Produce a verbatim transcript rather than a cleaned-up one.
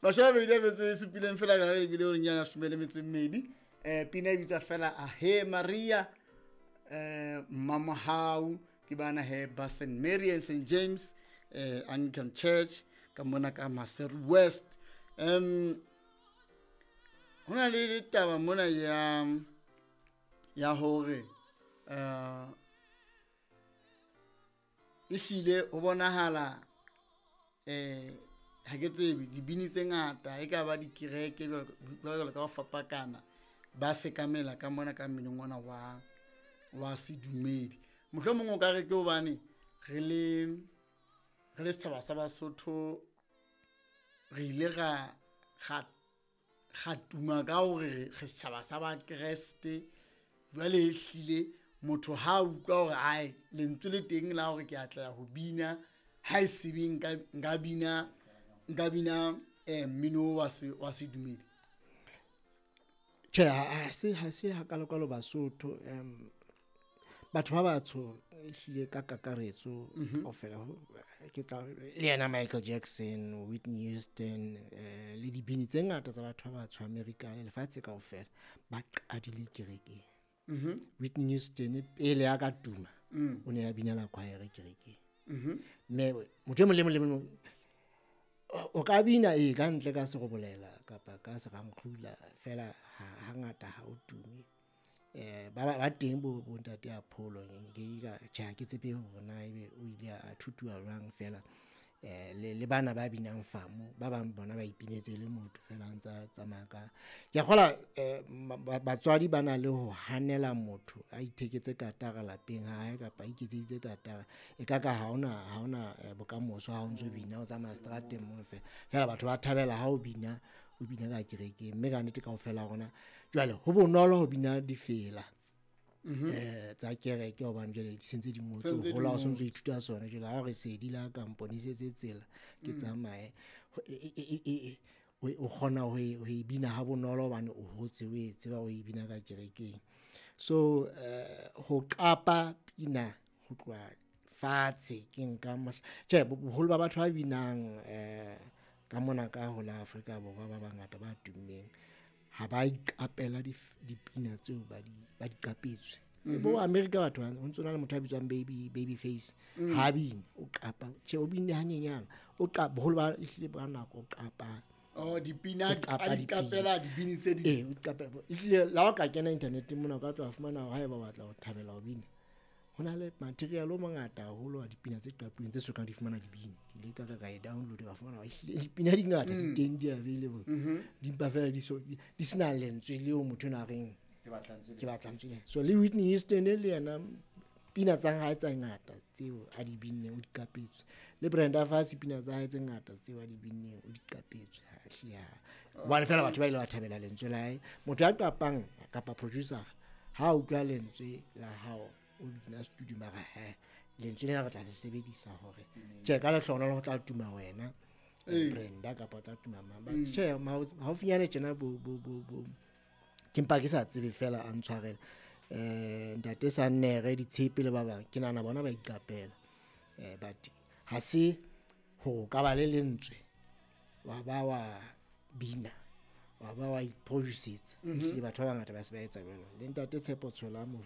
Mashome a mabedi a metso e supileng fela ka re ebile horeng ya leshome le metso e mmedi. um Pina e bitswa fela Ahe Maria, um Mmamohau. Ke bana he ba Saint Mary and Saint James um Anglican Church ka mona ka Maseru West. um Ho na le taba mona ya ya hore um ehlile ho bonahala um ha ke tsebe dibini tse ngata e ka ba dikereke jwalo ka ho fapakana ba sekamela ka mona ka mminong ona wa wa sedumedi. Mohlomong o ka re ke hobane re le re le setjhaba sa Basotho re ile ra ra ra tuma ka hore re setjhaba sa Bakreste. Jwale ehlile motho ha utlwa hore ae lentswe le teng la hore ke atla ho bina, ha e sebe nka nka bina nka bina eh mmino wa se wa sedumedi. Tjhe, ha se ha se hakalo-kalo Basotho. um Batho ba batsho ehlile ka kakaretso kaofela, ke tla le yena Michael Jackson, Whitney Houston, eh le dibini tse ngata tsa batho ba batsho America le lefatshe kaofela ba qadile kerekeng. Whitney Houston pele a ka tuma o ne a binela choir kerekeng. Mme motho e mong le mong le mong o ka bina e ka ntle ka serobolela kapa ka serankgula fela hangata ha o tume. Eh ba ba teng bo bo ntate Apollo, nke ka tjhe ha ke tsebe hore na ebe o ile a thutuwa jwang fela. Eh le le bana ba binang famo ba bang bona ba ipinetse le motho fela a ntsa tsamaya ka. Ke a kgolwa eh batswadi ba na le ho hanela motho a itheketse katara lapeng ha hae kapa a iketseditse katara, e ka ka ha hona ha hona bokamoso ha o ntso bina o tsamaya seterateng mono fela. Fela batho ba thabela ha o bina, o bina ka kerekeng, mme ka nnete kaofela ha rona jwale ho bonolo ho bina difela eh tsa kereke hobane jwale di sentse di ngotswe, hola o sontso ithuta sona. Jwale ha re sedi la ka mponesetse tsela ke tsamaye, o kgona ho e ho e bina ha bonolo hobane o hotse o e tseba o e bina ka kerekeng. So eh ho qapa pina ho tloha fatshe ke nka mohla tjhe boholo ba batho ba binang eh ka mona ka ho la Afrika Borwa ba bangata ba tummeng ha ba iqapela dipina tseo ba di ba di qapetswe. Bo America batho ho ntso na le motho a bitswang baby baby face ha bine o qapa, tjhe o binne hanyenyana o qapa boholo ba ehlile ba nako o qapa. Oh, dipina a di qapela dibini tse ding. Eh o qapela ehlile la o ka kena internet mona o ka tla fumana hore haeba o batla ho thabela ho bina ho na le material o mongata haholo wa dipina tse qapuweng tse sokang di fumana dibini. Ke ile ka ka e download ka fumana ehlile dipina di ngata di teng di available, di mpa fela di so di sena lentswe leo motho ena a reng ke batla ntswe ke batla ntswe. So le Whitney Houston le yena pina tsa hae tse ngata tseo a di binneng o di qapetswe, le Brenda Fassie pina tsa hae tse ngata tseo a di binneng o di qapetswe. Ha hle ha hobane fela batho ba ile ba thabela lentswe la hae. Motho ya qapang kapa producer ha utlwa lentswe la hao o bina studio mara he lentswe lena re tla le sebedisa hore tjhe ka lehlohonolo ho tla tuma wena Brenda kapa o tla tuma mang. But tjhe haufinyane tjena bo bo bo bo ke mpa ke sa tsebe fela a ntshwarele eh ntate Sannere ditshepe le ba bang ke nahana bona ba iqapela. Eh but ha se ho ka ba le lentswe wa ba wa bina wa ba wa iproducetsa, ehlile batho ba bangata ba se ba etsa jwalo. Le ntate Tshepo Tshola mo